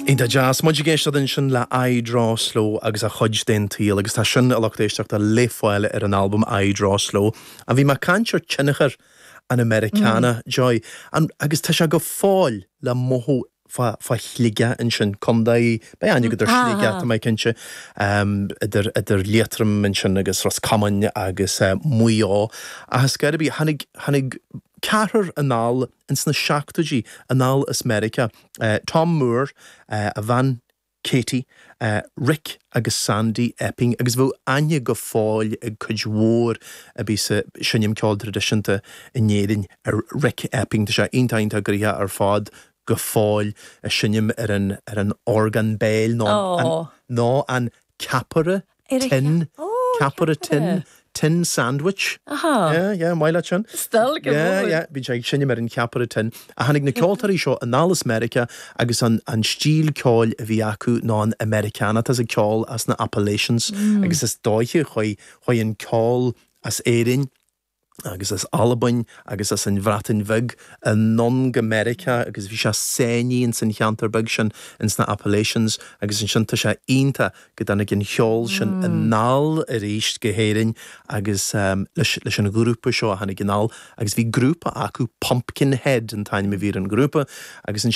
Iontach deas. Muid ag éisteacht ansin le I Draw Slow agus A Chuid den tSaol agus tá sin, a lucht éisteachta, le fáil ar an albam I Draw Slow. Ach bhí mé ag caint ar tionchar an Americana, Joy, agus tá sé go fóill le mothú fá fá Shligeach ansin, contae, beidh aithne agat ar Shligeach, tá mé cinnte, idir idir Liatroim ansin agus Ros Comáin agus Maigh Eo. Ach ar scor ar bith, tháinig tháinig ceathrar anall ins na seachtóidí anall as Meiriceá, Tom Moore, a bhean Katie, Rick agus Sandy Epping agus bheadh aithne go fóill ag cuid mhór a bhí sa seinm ceoil traidisiúnta in Éirinn ar Rick Epping. Tá sé iontach iontach gnoitheach ar fad go fóill ag seinm ar an ar an orgán béil nó an nó an ceapaire tin, ceapaire tin, tin sandwich. Aha. Yeah, yeah, maith leat sin. Still go Yeah, yeah, bíonn sé ag seinm ar an cheapaire tin. Ach tháinig na ceoltóirí seo anall as Meiriceá agus an an stíl ceoil a bhí acu ná an Americana, tá a fhios agat ceol as na Appalachians agus is dóiche chuaigh chuaigh an ceol as Éirinn agus as Albain agus as an Bhreatain Bheag anonn go Meiriceá agus bhí sé sáinnithe ins an cheantar beag sin ins na Appalachians agus ansin tá sé iontach go dtáinig an cheol sin anall arís go hÉirinn agus leis leis an ghrúpa seo a tháinig anall agus bhí grúpa acu Pumpkinhead an t-ainm a bhí ar an ghrúpa agus ansin.